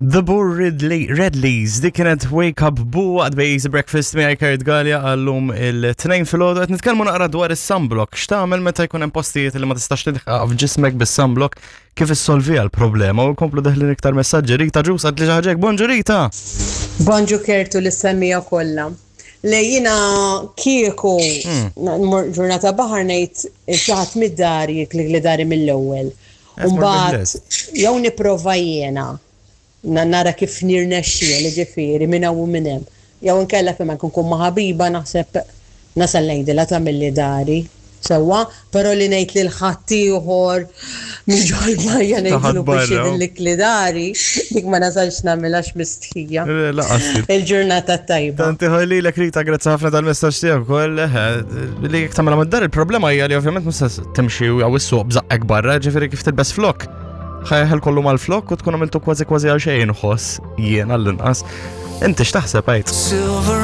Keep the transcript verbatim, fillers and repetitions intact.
The Boo Ridley, Redleys, dik kienet Wake Up Boo għad bej Easy Breakfast miegħi Kurt Galea għallum il-tnejn filgħodu qed nitkellmu naqra dwar is-sunblock. X'tagħmel meta jkun hemm postijiet li ma tistax tilħaq f'ġismek bis-sunblock kif issolviha l-problema u nkomplu deħlin iktar messaġġi. Rita Ġus għad li ħaġek. Bonġu Rita! Bonġu Kertu lis-semmiegħa kollha. Le jiena kieku nmur ġurnata baħar ngħid xi ħadd mid-dar jikli dari mill-ewwel. Umbagħad jew nipprova jiena na- nara kif nirnexxiel ġifieri minn hawn u minn hemm. Jew inkella fejn ma nkun kun ma' ħabiba naħseb nasal ngħidilha tagħmilli dari. Sewwa, però li ngħid lil ħaddieħor minn ġol-bajja ngħidlu biex barra. jidillikli dari, dik ma nasalx nagħmilha mistħija. Laqas. Il-ġurnata tajba. Tanti ħalli l Rita, grazzi ħafna tal-messaġġ tiegħek ukoll. eh, Li jekk tagħmilha mad-dar il-problema hija li ovvjament mhux se timxi jew issuq b'żaqqek barra, ġifieri kif tilbes flok. Ħa jeħel kollu mal-flok u tkun għamiltu kważi kważi għal xejn ħoss jien għall-inqas. Inti x'taħseb għid? Silver